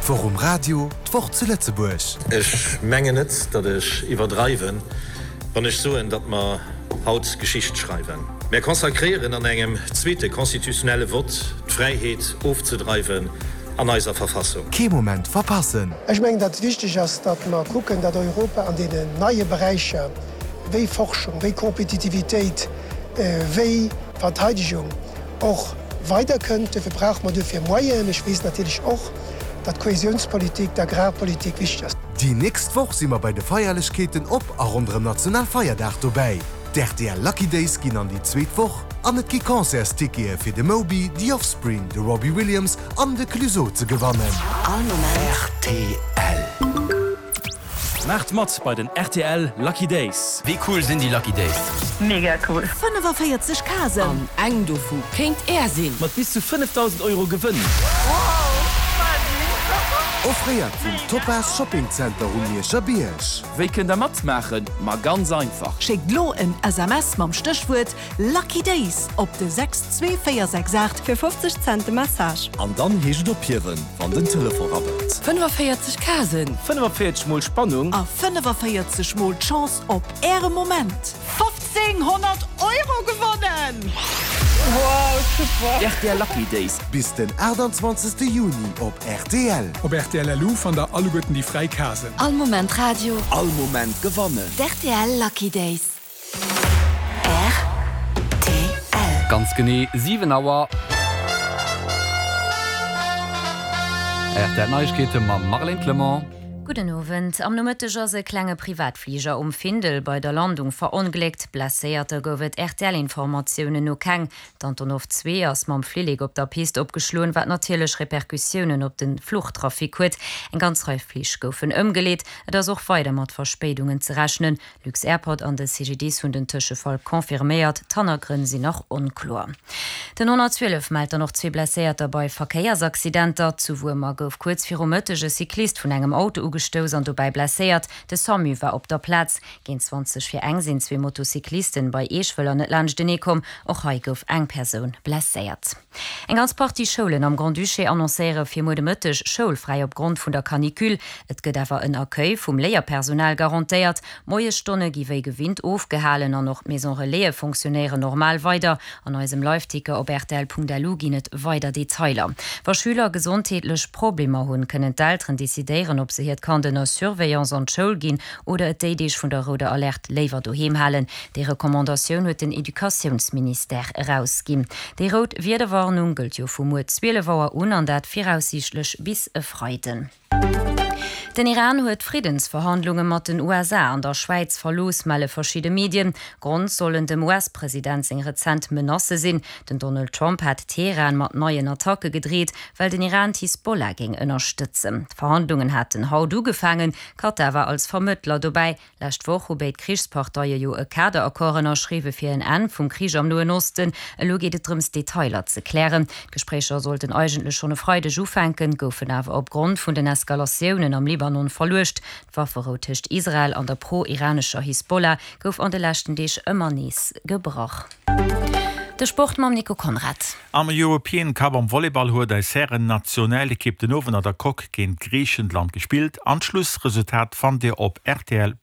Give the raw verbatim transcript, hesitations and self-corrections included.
D'Woch um Radio, d'Woch zu Lëtzebuerg. Ech mengen net, datt ech iwwerdreiwen, wann ech soen, datt mer haut Geschicht schreiwen. Mär consacréieren an engem zweete constitutionnelle Vott d'Fräiheet ofzedreiwen an eiser Verfassung. Kee Moment verpassen! Ech mengen, datt et wichteg ass, datt mer kucken, datt Europa an deenen neie Beräicher wéi Forschung, wéi Kompetitivitéit, wéi Verteidegung och weiderkënnt. Duerfir brauche mer duerfir Moyenen. Ech weess natierlech och, datt d'Kohäsionspolitik, d'Agrarpolitik wichteg ass. Déi nächst Woch si mer bei de Feierlechkeeten op a ronderëm Nationalfeierdag dobäi. D'R T L Lucky Days ginn an déi zweet Woch an et gi Concertstickete fir de Moby, The Offspring, de Robbie Williams an de Clueso ze gewannen. All Moment. R T L. Maacht mat bei den R T L Lucky Days. Wéi cool sinn déi Lucky Days? Mega cool. fënnefaféierzeg Casen. An eng dovu kéint är sinn. Mat bis zu fënnefdausend Euro Gewënn. Offréiert vum Topaz Shopping Center um Mierscher Bierg. Wéi kënnt der matmaachen? Ma ganz einfach. Schéckt lo en S M S mam Stéchwuert Lucky Days op de sechs zwee véier sechs aacht. Fir fofzeg Cent de Message. An dann heescht et ophiewen, wann den Telefon rabbelt. fënnefaféierzeg Casen. fënnefaféierzeg mol Spannung. A fënnefaféierzeg mol d'Chance op äre Moment. fofzénghonnert Euro gewonnen! Wow, super. R T L Lucky Days. Bis den aachtanzwanzegste Juni op R T L. Op R T L L U fannt der alleguerten déi fräi Casen. All Moment Radio. All Moment gewannen. D R T L Lucky Days. R T L. Ganz genee siwen Auer. R T L Neiegkeete mam Marlène Clement. Gudden Owend. Am Nomëtteg ass e klenge Privatfliger um Findel bei der Landung verongléckt. Blesséierter gouf et R T L-Informatiounen no keng. D'Antonov zwee ass mam Flillek op der Pist opgeschloen, wat natierlech Repercussiounen op de Fluchtrafic huet. Eng ganz Rei Flich goufen ëmgeleet. Et ass och weider mat Verspéidungen ze rechnen. Lux-Airport an de C G D I S hunn den Tëschefall confirméiert. D'Hannergrënn sinn nach onkloer. Den honnertzwielef mellt dann och zwee Blesséierter bei Verkéiersaccidenter. Zu Wuermer gouf kuerz viru Mëtteg e Cyclist vun engem Auto ugestouss an dobäi blesséiert. De SAMU war op der Plaz. Géint zwanzeg vir eng sinn zwee Motocyclisten bei Eeschwëller net laanschtenee komm. Och hei gouf eng Persoun blesséiert. Eng ganz Partie Schoulen am Grand-Duché annoncéiere fir muer de Mëtteg schoulfräi opgrond vun der Canicule. Et gëtt awer en Accueil vum Léierpersonal garantéiert. Moiesstonne gi wéi gewinnt ofgehalen an och d'Maison Relaise funktionéieren normal weider. An eisem Liveticker op R T L Punkt L U ginn et weider Detailer. Wa Schüler gesondheetlech Problemer hunn, kënnen d'Elteren decidéieren, ob se hiert Kand ënner Surveillance an d'Schoul ginn oder et déi Deeg vun der rouder Alerte léiwer doheem halen. Déi Recommandatioun huet den Educatiounsministère erausginn. Déi rout Wiederwarnung gëllt jo vu muer zwielef Auer un an dat viraussiichtlech bis e Freiden. Den Iran huet Friddensverhandlunge mat den U S A an der Schwäiz verlooss, melle verschidde Medien. Grond sollen dem U S-President seng rezent Menacë sinn. Den Donald Trump hat Teheran mat neien Attacke gedreet, well den Iran d'Hisbollah géing ënnerstëtzen. D'Verhandlungen haten haut ugefaangen, Katar war als Vermëttler dobäi. Lescht Woch hu béid Krichsparteie jo e Kaderaccord ënnerschriwwe fir en Enn vum Krich am Noen Osten. Elo geet et drëms, Detailer ze klären. D'Gespréicher sollten eigentlech schonn e Freideg ufänken, goufen awer opgrond vun den Eskalatiounen am Libanon verluecht. D'Wafferou tëscht Israel an der pro-iranescher Hisbollah gouf an de leschten Deeg ëmmer nees gebrach. De Sport mam Nico Konrad. Am European Cup am Volleyball huet eis Hären-Nationalekipp den Owend an der Coque géint Griichenland gespillt. D'Schlussresultat fannt Dir op R T L.